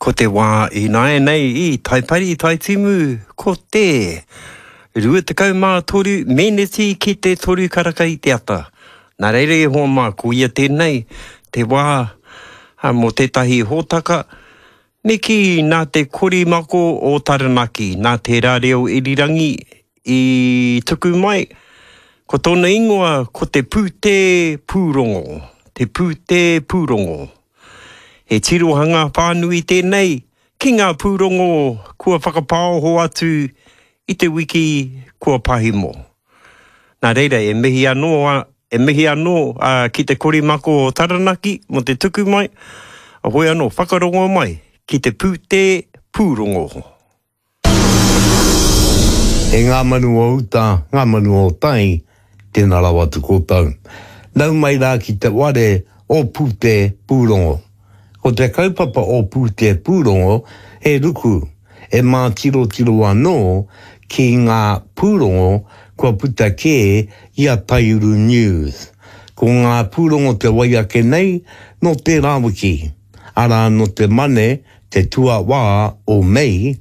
Ko te wā ināianei i Taipari, Taitimu, ko te 23 meneti ki te toru karaka i te ata. Nā reira e hoa mā, ko ia tēnei, te wā mō tētahi hōtaka, me kī nā te korimako o Taranaki, nā tērā reo irirangi i tuku mai, ko tōna ingoa ko te Pūtē Pūrongo, te Pūtē Pūrongo. He tirohanga whānui tēnei ki ngā pūrongo kua whakapāoho atu i te wiki kua pahimo. Nā reira, e mihi anō, e mihi anō ki te korimako o Taranaki mō te tuku mai, hoi anō, whakarongo mai ki te pūtē pūrongo. E ngā manu o uta, ngā manu o tai, tēnā rawa atu koutou. Nau mai rā ki te ware o Pūtē Pūrongo. Ko te kaupapa o Pūtē Pūrongo he ruku e mātirotiro anō ki ngā pūrongo kua puta kē i a Taiuru News. Ko ngā pūrongo te wai ake nei nō tērā wiki, arā nō te Mane te tuawā o Mei,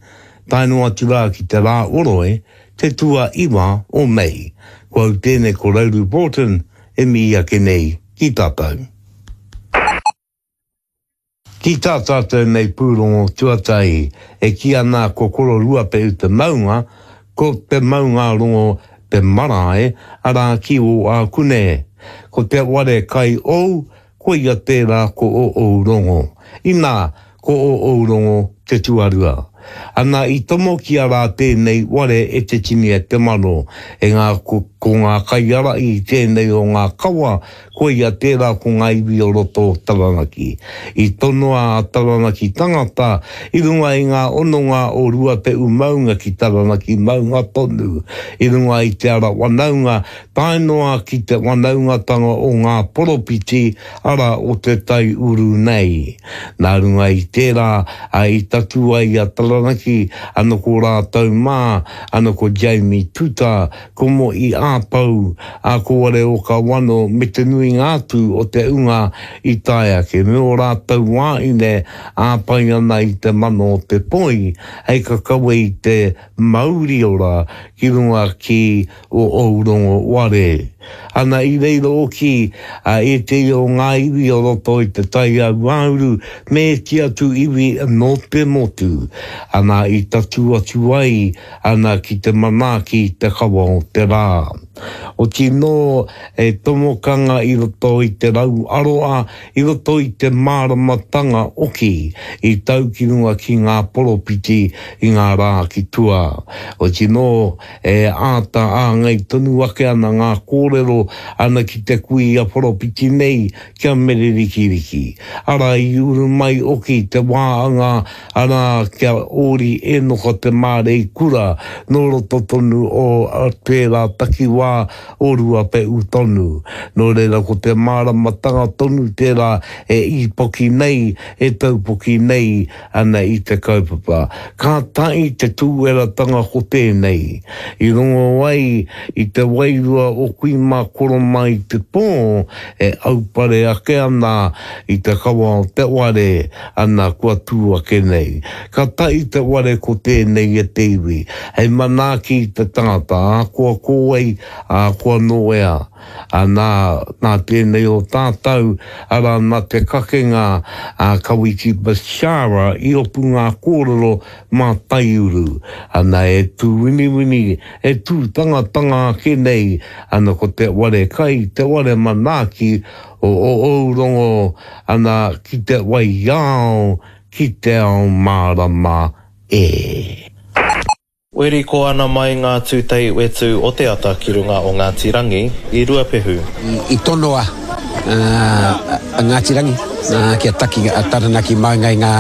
tae noa atu rā ki te rā oroi, te tuaiwa o Mei. Ko au tēnei ko Rauru Broughton e mihi ake nei ki tātou. Ki tā tātou nei pūrongo tuatahi e kī ana ko Koro Ruapehu te maunga, ko Te Maungārongo te marae, arā ki Ōākune. Ko te ware kai ou, Koia tērā ko ō ōu rongo. Inā, ko ō ōu rongo te tuarua. Ana i tomokia rā tēnei ware e te tini e te mano, e ngā, ko, ko ngā kaiārahi i tēnei o ngā kawa, koia tērā ko ngā iwi o roto o Taranaki. I tonoa a Taranaki tangata i runga i ngā hononga o Ruapehu maunga ki Taranaki maunga tonu, i runga i te ara wanaunga tae noa ki te wanaungatanga o ngā poropiti, arā, o te tai uru nei. Nā runga i tērā, ā, i tatū ai a Taranaki, ana ko rātou mā, ana ko Jamie Tuta, ko Mo'i Āpau, ā, ko Wareokawano me te nuinga atu o te unga i tae ake, me ō rātou wāhine āpai ana i te mano o te poi, hei kakawe i te mauri ora ki runga ki o Ourongo ware. Ana i reira hoki a ētehi o ngā iwi o roto i te Tai Hauāuru me ēti atu iwi nō te motu. Ana i tatū atu ai ana ki te manaaki i te kawa o te rā. Oti nō e tomokanga i roto i te rau aroa, i roto i te māramatanga oki i tau ki runga ki ngā poropiti i ngā rā ki tua. Oti nō E āta āngai tonu ake ana ngā kōrero ana ki te kuia poropiti nei ki a Mere Rikiriki. Arā i uru mai oki te wāanga arā ki a Ōri Ēnoka Te Māreikura nō roto tonu o tērā takiwā o Ruapeʻu tonu. Nō reira ko te māramatanga tonu tērā e īpoki nei, e taupoki nei ana i te kaupapa. Kātahi te tūweratanga ko tēnei. I rongo ai i te wairua o kui mā koro mā i te pō e aupare ake ana i te kawa o te ware, ana kua tū ake nei. Ka tahi te ware ko tēnei e te iwi, hei manaaki i te tangata, ahakoa ko wai, ahakoa nō ea. Ana, nā tēnei o tātou, arā, nā te kakenga a Kawiti Bashara i opu ngā kōrero mā Taiuru. Ana, e tū winiwini, e tū tangatanga ake nei, ana ko te ware kai, te ware manaaki o ōu rongo, ana, ki te wai ao, ki te ao mārama e. Weriko ana mai ngā tūtei whetū o te ata ki runga o Ngāti Rangi i Ruapehu. I tonoa a Ngāti Rangi kia taki a Taranaki maunga i ngā,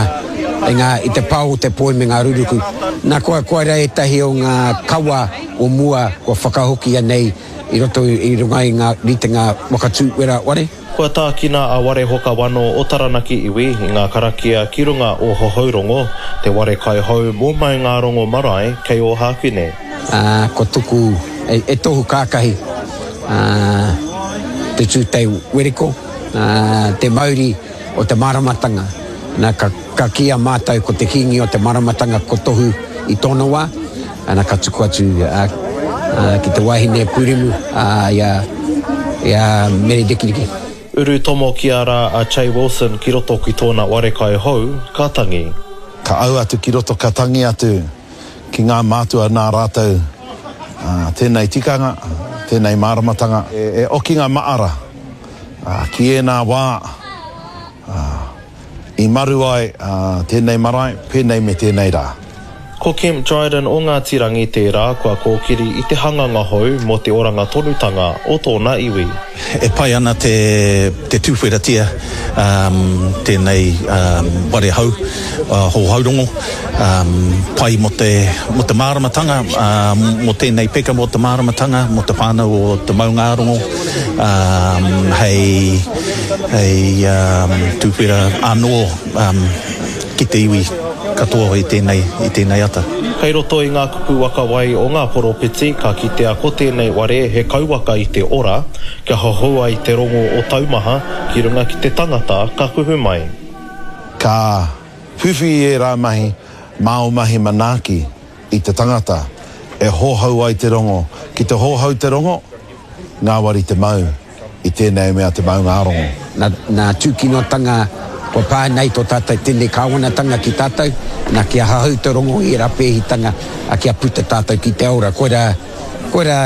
i ngā, i te pao o te poi me ngā ruruku. Nā, kua, koira ētahi o ngā kawa o mua kua whakahokia nei i roto i runga i ngā ritenga waka tū wera ware. Kua tākina a Warehokawano o Taranaki iwi i ngā karakia ki runga o Hohourongo, te ware kaihou mō Maungārongo marae kei Ōhākune. Ā, kua tuku e tohu kākahi, ā, te tūtei wereko, ā, te mauri o te māramatanga. Na, ka, ka kīia mātou ko te kīngi o te maramatanga ko Tohu i tōna wā, ana ka tuku atu a, a, ki te wahine pūremu, a, i a, i a Mere Rikiriki. Uru tomokia rā a Che Wilson ki roto ki tōna wharekai hou, ka tangi. Ka au atu ki roto ka tangi atu ki ngā mātua nā rātou tēnei tikanga, tēnei māramatanga. E okinga maara ki ēnā wā i maru ai tēnei marae, pēnei me tēnei rā. Ko Kemp Dryden o Ngāti Rangi tērā kua kōkiri i te hanganga hou mō te oranga tonutanga o tōna iwi. E pai ana te te tūwheratia tēnei ware hou, hōhaurongo, pai mō te mō te māramatanga, mō tēnei peka mō te māramatanga, mō te whānau o te maungārongo, hei hei tūwhera anō ki te iwi katoa i tēnei, i tēnei ata. Kei roto i ngā kupu waka wai o ngā poropiti ka kitea ko tēnei ware he kauwaka i te ora, kia hohou ai te rongo o taumaha ki runga ki te tangata ka kuhu mai. Ka whiwhi i ērā mahi mā ō mahi manaaki i te tangata e hohou ai te rongo. Ki te hohou te rongo, ngāwari te mau i tēnei mea te maungārongo. Na, na tūkinotanga kua pā nei tō tātou tēnei kāwanatanga ki tātou, na kia hahau te rongo i ērā pēhitanga, a kia puta tātou ki te ora. Koirā, koirā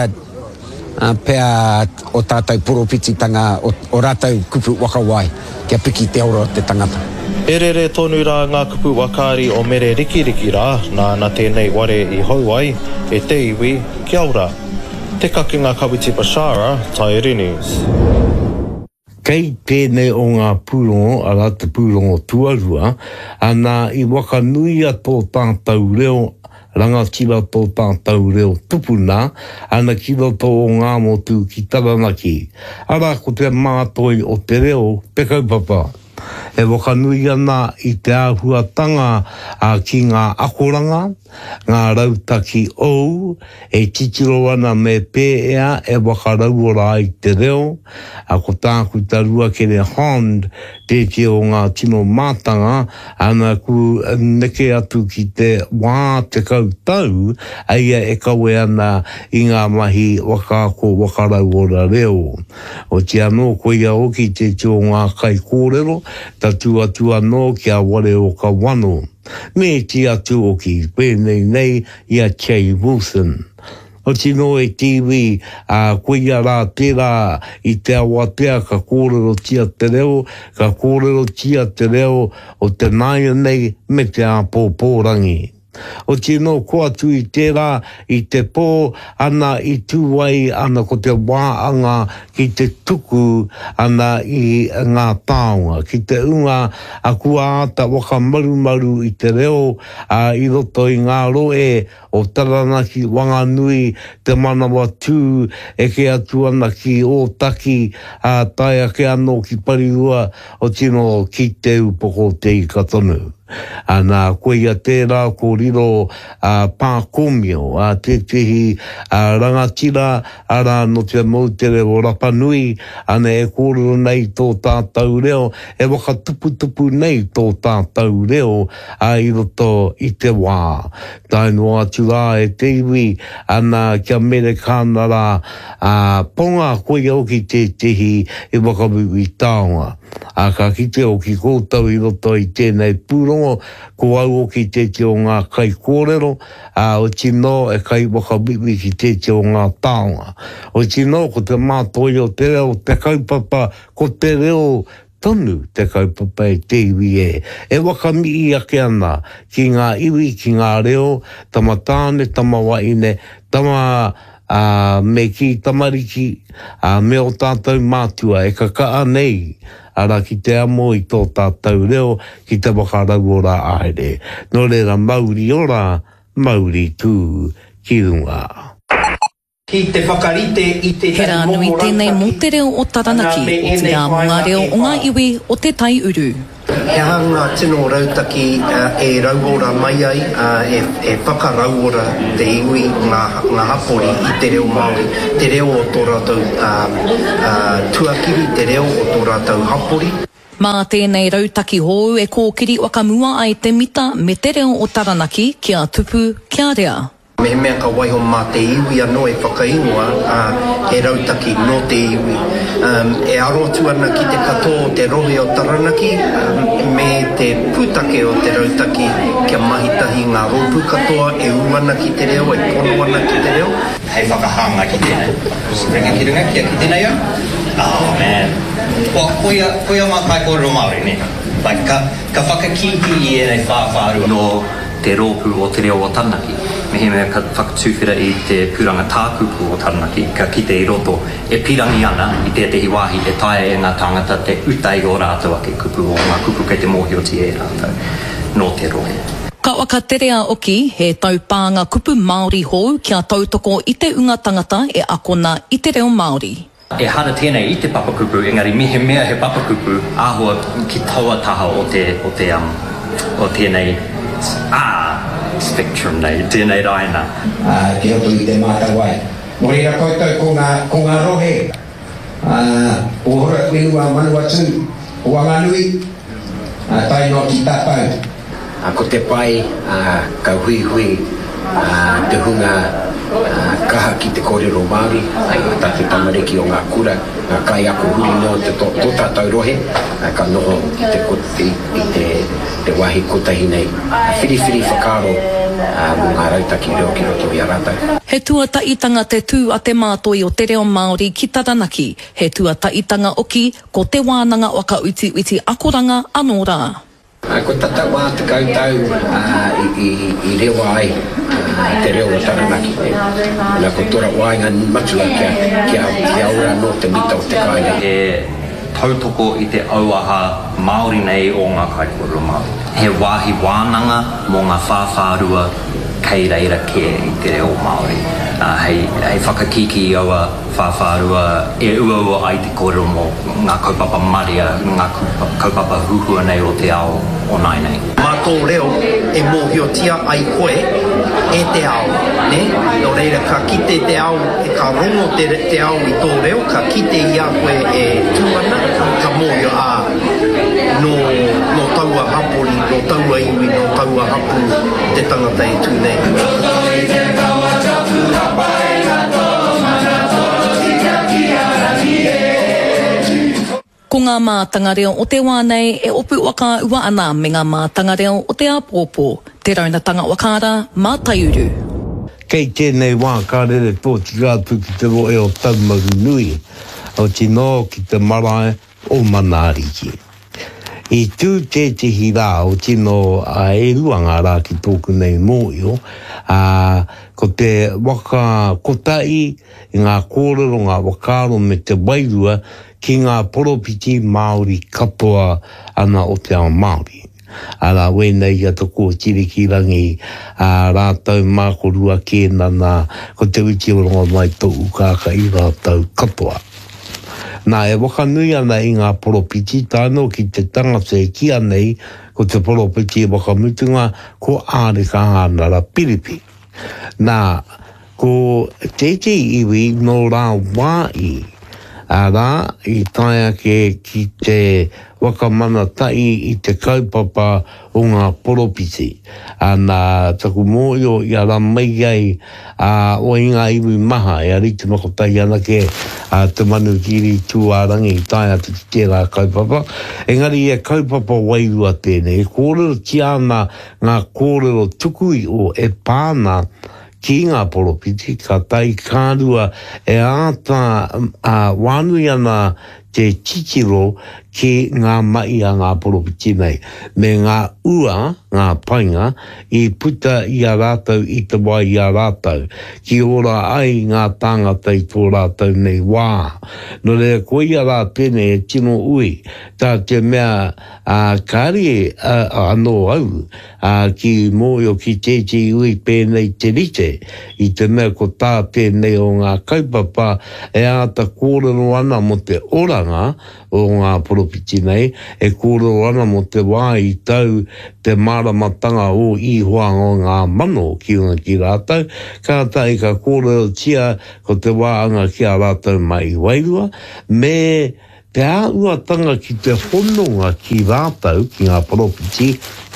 pea o tātou poropititanga, o, o rātou kupu whakawai, kia piki te ora o te tangata. E rere tonu rā ngā kupu whakaari o Mere Rikiriki rā, nāna tēnei ware i hou ai, e te iwi, kia ora. Te Kakenga Kawiti Bashara, Taieri News. Kei tēnei o ngā pūrongo, arā te pūrongo tuarua, ana i whakanuia tō tātou reo rangatira tō tātou reo tupuna, ana ki roto o Ngāmotu ki Taranaki. Arā ko te mātoi o te reo te kaupapa. E whakanui ana i te āhuatanga ki ngā akoranga, ngā rautaki ou, e titiro ana me pēea e whakarauora ai te reo, a ko Tākuta Ruakere Hond tētehi o ngā tino mātanga, ana ku neke atu ki te 40 tau a ia e kawe ana i ngā mahi whakaako whakarauora reo. Oti anō koia hoki tētehi o ngā kaikōrero, tatū atu anō ki a Wareokawano. Me iti atu hoki, pēnei nei i a Che Wilson. Oti nō e te iwi, ā, koia rā tērā i te awatea ka kōrerotia te reo, ka kōrerotia te reo o te nāianei me te āpōpō rangi. Oti nō ko atu i tērā, i te pō, ana i tū ai ana ko te wā anga ki te tuku ana i ngā taonga, ki te unga a kua āta whakamarumaru i te reo, ā, i roto i ngā rohe o Taranaki, Wanganui, Te Manawatū, eke atu ana ki Ōtaki, ā, tae ake anō ki Parirua, otirō ki Te Upoko o Te Ika tonu. Ana, koia tērā ko riro a Pākōmio, a tētehi rangatira, arā, nō te moutere o Rapanui, ana e kōrero nei tō tātou reo, e whakatuputupu nei tō tātou reo, ā, i roto i te wā. Tae noa atu rā e te iwi, ana, kia mere kāna rā, ā, ponga koia hoki tētehi i whakawiwi taonga. Ā, ka kite hoki koutou i roto i tēnei pūrongo, ko au hoki tētehi o ngā kaikōrero, ā, oti nō e kaiwhakawiwi ki tētehi o ngā taonga. Oti nō, ko te mātoi o te reo te kaupapa, ko te reo tonu te kaupapa e te iwi e, e whakamii ake ana ki ngā iwi, ki ngā reo, tama tāne, tama wahine, tama ā, me kī tamariki, ā, me ō tātou mātua e kaka'a nei, arā, ki te amo i tō tātou reo, ki te whakarauora haere. Nō reira, mauri ora, mauri tū ki runga. Ki te whakarite i He tētahi rā nui momo tēnei mō rautaki, te reo o ana Taranaki, me ēnei otirā mō ngā whāinga reo e o ngā whā. iwi o Te Tai Uru. He aha ngā tino rautaki e rauora mai ai, e whakarauora te iwi, ngā hapori i te reo Māori, te reo o tō rātou tuakiri, te reo o tō rātou hapori? Mā tēnei rautaki hou e kōkiri whakamua ai te mita me te reo o Taranaki kia tupu, kia rea. Mehemea ka waiho mā te iwi anō e whakaingoa, ā, he rautaki nō te iwi, e aro atu ana ki te katoa o te rohe o Taranaki, me te pūtake o te rautaki kia mahi tahi ngā rōpū katoa e ū ana ki te reo, e pono ana ki te reo. Hei whakahāngai ki tēnei. Ringa ki runga, kia kite nei au. Oh man. Well, koia, koia ngā kaikōrero Māori, nē? Like, ka, ka whakakīkī i ēnei whāwhārua. Nō te rōpū o Te Reo o Taranaki. Mehemea ka whakatuwhera i te pūranga tākupu o Taranaki, ka kite i roto e pirangi ana i tētehi wāhi e taea e ngā tāngata te uta i ō rātou ake kupu, o ngā kupu kei te mōhiotia e rātou nō te rohe. Ka whakaterea hoki he taupānga kupu Māori hou kia tautoko i te unga tangata e akona i te reo Māori. Ehara tēnei i te papakupu, engari mehemea he papakupu, āhua ki taua taha o te, o te, um, o tēnei, ah, spectrum nei, tēnei raina. Ā, ki roto i te mātawai. Nō reira koutou ko ngā, ko ngā rohe, ā, o Horowhenua, Manawatū, o Wanganui, ā, tae noa ki tātou. Ko te pai, ka huihui te hunga kaha ki te kōrero Māori, ā tātou tamariki o ngā kura, ngā kaiako huri noa i tō tātou rohe, ka noho i te wāhi kotahi nei, whiriwhiri whakaaro mō ngā rautaki reo ki roto i a rātou. He tuataitanga te tū a te mātoi o te reo Māori ki Taranaki, he tuataitanga oki ko Te Wānanga Whakautiuti Akoranga anō rā. Kua tata 40 tau i rewa ai te reo o Taranaki. Na, ko tōra waenga matua kia ora anō te mita o te kāinga. He tautoko i te auaha Māori nei o ngā kaikōrero Māori. He wāhi wānanga mō ngā whāwhārua kei reira kē i te reo Māori, hei whakakīkī i aua Whāwhārua e uaua ai te kōrero mō ngā kaupapa marea, ngā kaupapa huhua nei o te ao o nāianei. Mā tō reo e mōhiotia ai koe e te ao, nē? Nō reira, ka kite te ao, ka rongo te, te ao i tō reo, ka kite i a koe e tū ana, ka mōhio, ā, nō, nō taua hapori, nō taua iwi, nō taua hapū te tangata e tū nei. Ko ngā mātanga reo o te wā nei e opu whakaua ana me ngā mātanga reo o te āpōpō, te raunatanga whakaara mā Taiuru. Kei tēnei wā ka rere tōtika atu ki te rohe o Taumarunui, otinō ki te marae o Manaariki. I tū tētehi rā o tino e rua ngā rā ki tōku nei mōhio, ā, ko te waka kotahi i ngā kōrero, ngā whakaaro me te wairua ki ngā poropiti Māori katoa ana o te ao Māori. Arā, wēnei i a Te Kooti Rikirangi, ā, rātou mā ko Rua Kēnana, ko Te Witi o Rongomai tōu kākahi rātou katoa. Nā, e whakanui ana i ngā poropiti, tae noa ki te tangata e kīa nei ko te poropiti whakamutunga, ko Āreka Hānara Piripi. Nā, ko tētehi iwi nō rāwāhi, arā, i tae ake ki te whakamanatahi i te kaupapa o ngā poropiti. Ana, taku mōhio i ara mai ai, ā, o i ngā iwi maha, e rite makotahi anake a Te Manukiri Tūārangi i tae atu ki tērā kaupapa. Engari he kaupapa wairua tēnei, e kōrerotia ana ngā kōrero tuku iho e pā ana ki ngā poropiti, ka tae ka rua e āta wānui ana te titiro ki ngā mahi a ngā poropiti nei, me ngā ua, ngā painga, i puta i a rātou i te wā i a rātou, ki ora ai ngā tāngata i tō rātou nei wā. Nō reira, koia rā tēnei e tino ui, tā te mea, ā, kāre anō au, ā, ki mōhio ki tētehi ui pēnei te rite, i te mea ko tā tēnei o ngā kaupapa e āta kōrero ana mō te oranga o ngā poropiti nei, e kōrero ana mō te wā i tau te māramatanga o Ihoa o ngā mano ki runga ki rātou, kātahi ka kōrerotia ko te wā anga ki a rātou mai i wairua, me. Te āhuatanga ki te hononga ki rātou, ki ngā poropiti,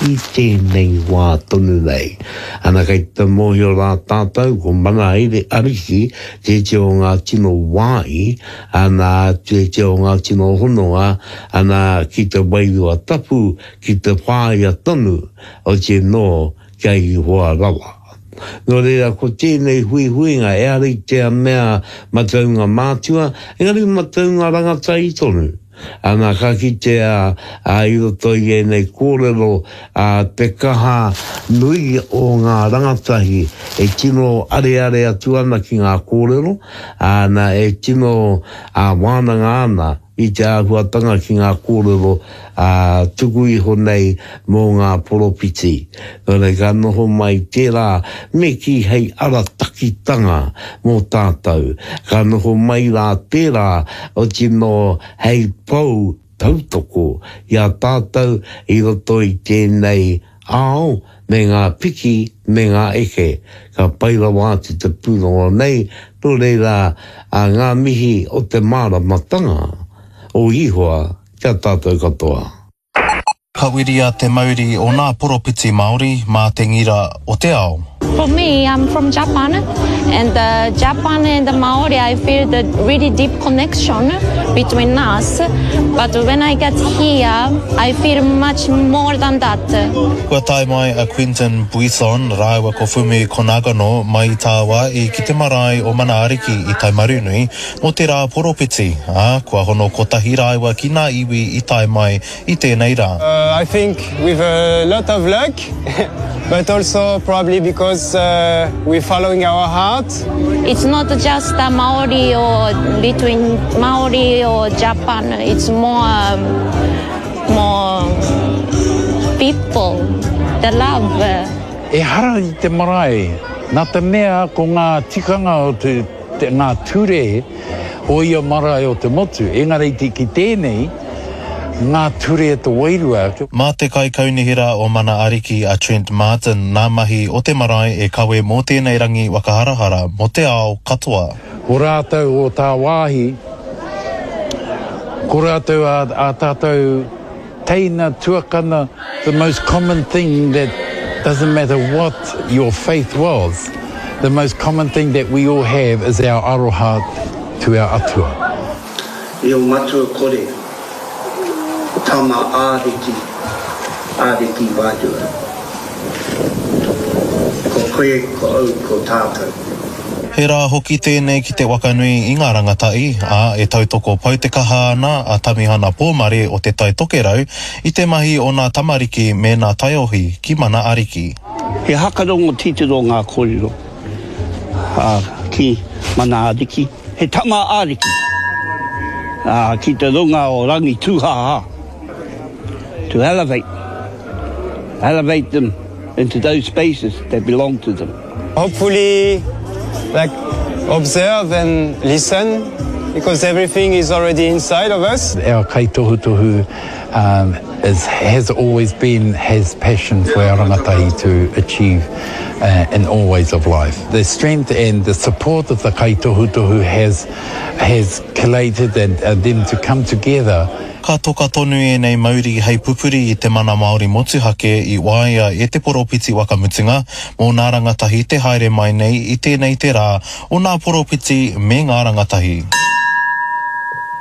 i tēnei wā tonu nei. Ana kei te mōhio rā tātou ko Mana Ariki tētehi o ngā tino wāhi, ana tētehi o ngā tino hononga, ana ki te Wairua Tapu, ki te whāia tonu, otirā kia Ihoa rawa. Nō reira, ko tēnei huihuinga ehara i te mea mataunga mātua, engari mataunga rangatahi tonu. Ana, ka kitea i roto i ēnei kōrero te kaha nui o ngā rangatahi e tino areare atu ana ki ngā kōrero, ana, e tino wānanga ana i te āhuatanga ki ngā kōrero tuku iho nei mō ngā poropiti. Nō reira, ka noho mai tērā me kī hei aratakitanga mō tātou. Ka noho mai rā tērā otinō hei pou tautoko i a tātou i roto i tēnei ao me ngā piki me ngā eke. Ka pai rawa atu te pūrongo nei, nō reira a ngā mihi o te māramatanga o Ihoa ki a tātou katoa. Ka wiria te mauri o nā poropiti Māori mā te ngira o te ao. For me, I'm from Japan, and uh, Japan and the Maori, I feel the really deep connection between us. But when I get here, I feel much more than that. Kua tae mai a Quentin Buisson rāua ko Fumi Konagano mai i tāwāhi ki te marae o Mana Ariki i Taumarunui mō te rā poropiti, ā, kua hono kotahi rāua ki nā iwi i tae mai i tēnei rā. I think with a lot of luck, but also probably because we're following our heart. It's not just a Maori or between Maori or Japan, it's more, more people, the love. Ehara i te marae, nā te mea ko ngā tikanga o te, te, ngā ture o ia marae o te motu, engari ki tēnei, ngā ture te wairua. Mā te Kaikaunihera o Mana Ariki a Trent Martin nā mahi o te marae e kawe mō tēnei rangi whakaharahara mō te ao katoa. Ko rātou o tāwāhi, ko rātou ā, ā tātou teina, tuakana, the most common thing that doesn't matter what your faith was, the most common thing that we all have is our aroha to our atua. Reo matua kore, tama āriki, āriki wairua. Ko koe, ko au, ko tātou. He rā hoki tēnei ki te wakanui i ngā rangatahi, ā, e tautoko poutekaha ana a Tamihana Pōmare o Te Tai Tokerau i te mahi o nā tamariki me nā taiohi ki Mana Ariki. He hakarongo titiro ngā kōrero, ā, ki Mana Ariki. He tama ariki, ā, ki te runga o Rangitūhāhā, to elevate, elevate them into those spaces that belong to them. Hopefully, like, observe and listen, because everything is already inside of us. Our kaitohutohu um, is, has always been has passion for our rangatahi to achieve uh, in all ways of life. The strength and the support of the kaitohutohu has, has collated and, and them to come together Ka toka tonu ēnei mauri hei pupuri i te mana Māori motuhake i waia e te poropiti wakamutunga mō nā rangatahi te haere mai nei i tēnei te rā o nā poropiti me ngā rangatahi.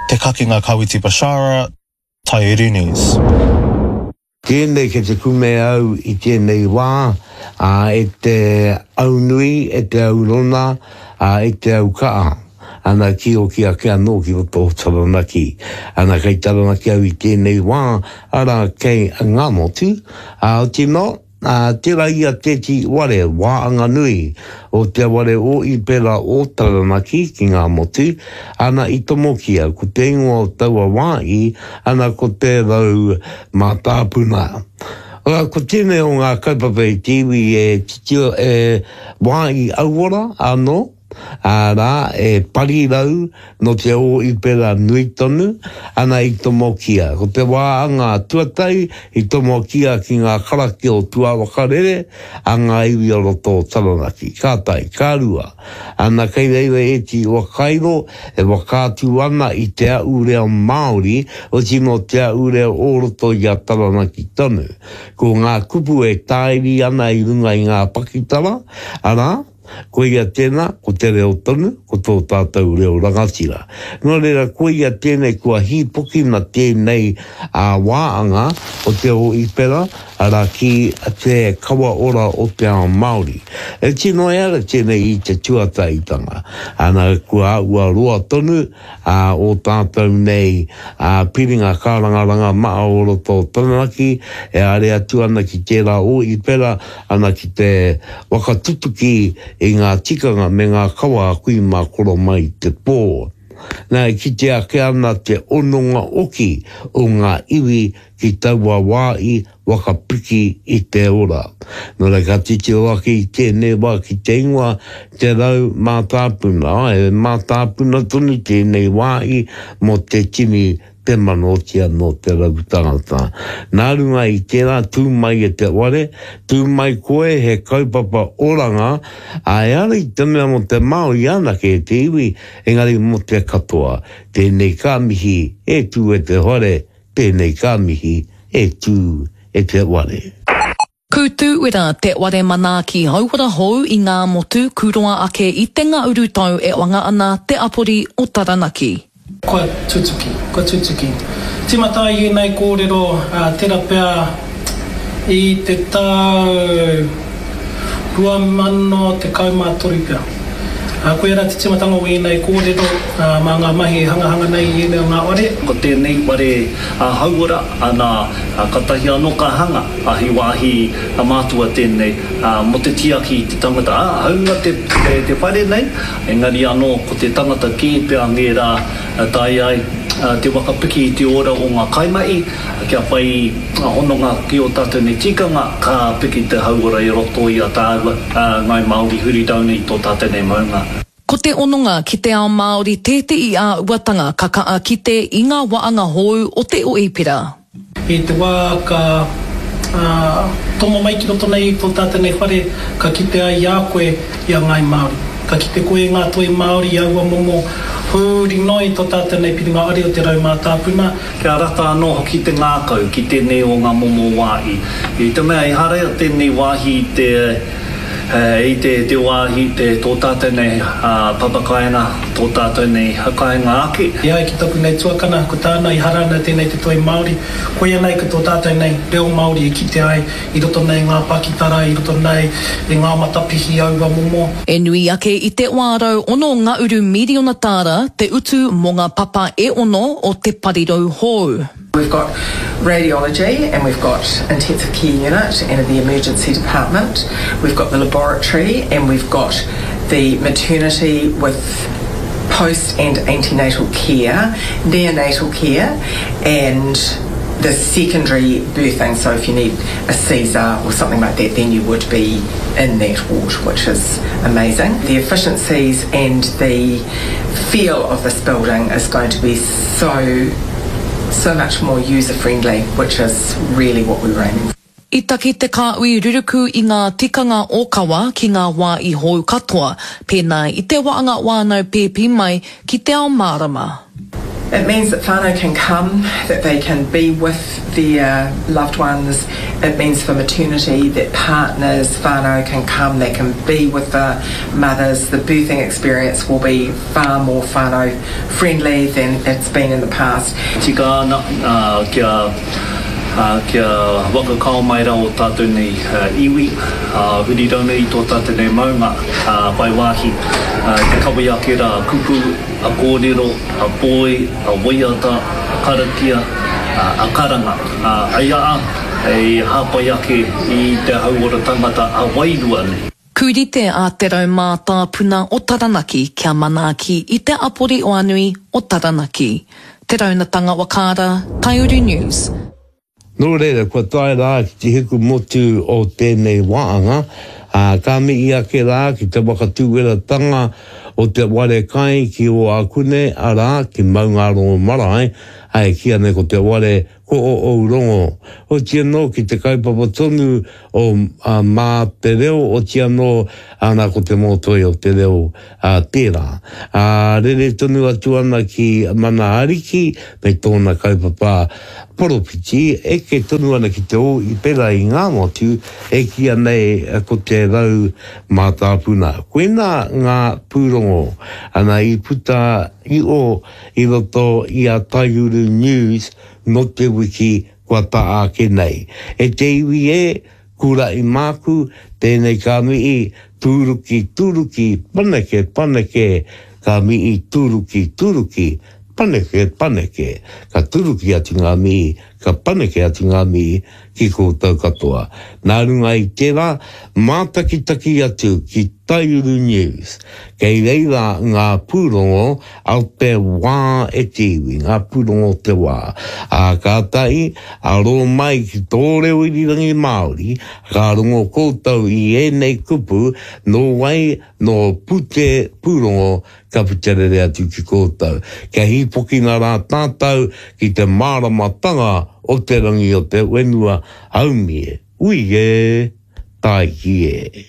Te Kakenga Kawiti Bashara, Taiuru News. Tēnei kei te kume au i tēnei wā, ā, e te au nui, e te au rona, ā, e te au kaha. Ana ki oki ake anō ki roto o Taranaki. Ana kei Taranaki au i tēnei wā, arā kei Ngāmotu, ā, otirā, Ā, tērā ia tēti ware wāanga nui o te ware o Ipera o Taranaki ki Ngāmotu, ana i tomokia, ko te ingoa o taua wā i, ana ko Te Rau Mātāpuna. Ā, ko tēnei o ngā kaupapa i te iwi e titiro, e wā i auora anō. Arā, e parirau nō te ōipera nui tonu, ana i tomokia. Ko te wā anga tuatahi i tomokia ki ngā karakia o Tuawakarere a ngā iwi o roto o Taranaki. Ka tahi, ka rua, ana kei reira ēti whakairo e whakaatu ana i te ahurea Māori, oti nō te ahurea o roto i a Taranaki tonu. Ko ngā kupu e tāiri ana i runga i ngā pakitara, arā, Koia tēnā, ko te reo tonu, ko tō tātou reo rangatira. Nō reira, koia tēnei kua hīpokina tēnei wāanga o te Ōipera, arā, ki te kawa ora o te ao Māori. E tino ehara tēnei i te tuatahitanga. Ana, kua āhua roa tonu ā, ō tātou nei piringa kārangaranga maha o roto o Taranaki e haere atu ana ki tērā ōipera, ana ki te whakatutuki i ngā tikanga me ngā kawa a kui mā koro mai i te pō. Nā, e kitea ake ana te hononga oki o ngā iwi ki taua wā i whakapiki i te ora. Nō reira, ka titiro ake i tēnei wā ki te ingoa Te Rau Mātāpuna, āe, he mātāpuna tonu tēnei wāhi mō te tini te mano otiia nō te rau tangata. Nā runga i tērā, tū mai e te ware, tū mai koe he kaupapa oranga, ā, ehara i te mea mō te Māori anake e te iwi, engari mō te katoa. Tēnei ka mihi, e tū e te whare, Tēnei ka mihi e tū e te ware. Kūtūwera te ware manaaki hauora hou i Ngāmotu kūroa ake i te ngauru tau e wanga ana te apori o Taranaki. Kua tutuki, kua tutuki. Timata ai ēnei kōrero, tera pea i te tau 2013 pea. Koia rā te tīmatanga o ēnei kōrero mā ngā mahi e hangahanga nei i ēnei o ngā ware. Ko tēnei ware hauora, ana, katahi anō ka hanga he wāhi mātua tēnei mō te tiaki i te tangata, ā, hāunga te whare nei, engari anō ko te tangata kē pea ngērā taea ai te whakapiki i te ora o ngā kaimahi, Kia whai hononga ki ō tātou nei tikanga, ka piki te hauora i roto i a tāua, Ngāi Māori huri down i tō tātou nei maunga. Ko te hononga ki te ao Māori tētehi āhuatanga ka kaha kite i ngā waanga hou o te Oipera. I te wā ka tomo mai ki roto nei i tō tātou nei whare, ka kite ai i a koe i a Ngāi Māori. Ka kite koe i ngā toi Māori i aua momo huri noa i tō tātou nei piringa ari o te rau mātāpuna. Kia rata anō hoki te ngākau ki tēnei o ngā momo wāhi. I te mea ehara tēnei wāhi i te, i te, te wāhi, te, tō tātou nei papakāinga, tō tātou nei kāinga ake. E ai ki taku nei tuakana, ko tāna i hara ana tēnei te toi Māori, koia nei ko tō tātou nei reo Māori e kite ai i roto nei ngā pakitara, i roto nei i ngā matapihi aua momo. E nui ake i te 606 ngahuru miriona tāra te utu mō ngā papa e ono o te parirau hou. We've got radiology and we've got intensive care unit and the emergency department. We've got the laboratory and we've got the maternity with post and antenatal care, neonatal care and the secondary birthing, so if you need a Caesar or something like that, then you would be in that ward, which is amazing. The efficiencies and the feel of this building is going to be so, so much more user friendly, which is really what we were aiming for. I taki te kāhui ruruku i ngā tikanga ōkawa ki ngā wā i hou katoa, pēnā i te waanga whānau pēpi mai ki te ao mārama. It means that whānau can come, that they can be with their loved ones. It means for maternity that partners, whānau can come, they can be with the mothers. The birthing experience will be far more whānau friendly than it's been in the past. Tika ana kia Ā, kia whakakao mai rā ō tātou nei iwi, ā, huri rauna i tō tātou nei maunga, ā, whai wāhi te kawe ake rā a kupu, a kōrero, a poi, a waiata, a karakia, ā, a karanga, ā, hei aha, hei hāpai ake i te hauora tangata ā-wairua nei. Kūrite a Te Rau Mātāpuna o Taranaki kia manaaki i te apori oanui o Taranaki. Te Raunatanga Wakaara, Taiuru News. Nō reira, kua tae rā ki te hiku motu o tēnei wāanga, ā, ka mihi ake rā ki te whakatūweratanga o te ware kai ki Ōākune, arā, ki Maungārongo marae, ā, e kīia nei ko te ware ko ō rongo. Oti anō ki te kaupapa tonu o Mā te Reo, oti anō, ana ko te mōtoi o te reo tērā. Ā, rere tonu atu ana ki Mana Ariki me tōna kaupapa poropiti, eke tonu ana ki te ō i pera i ngā motu e kīia nei ko te rau mātāpuna. Koinā ngā pūrongo, ana i puta i o i roto i a Taiuru News nō te wiki kua tā ake nei. E te iwi e, kuraʻi māku, tēnei ka mihi, tūruki, tūruki, paneke, paneke, ka mihi, tūruki, tūruki, paneke, paneke. Ka tūruki atu ngā mihi, ka paneke atu ngā mihi ki koutou katoa. Nā runga i tērā, mātakitaki atu ki Taiuru News. Kei reira ngā pūrongo a te wā e te iwi, ngā pūrongo o te wā. Ā, kātahi, aro mai ki tō reo irirangi Māori, ka rongo koutou i ēnei kupu, nō wai, nō Pute Pūrongo ka puta rere atu ki koutou. Kia hīpokina rā tātou ki te māramatanga o te rangi o te whenua, haumi e, ui e, tāiki e.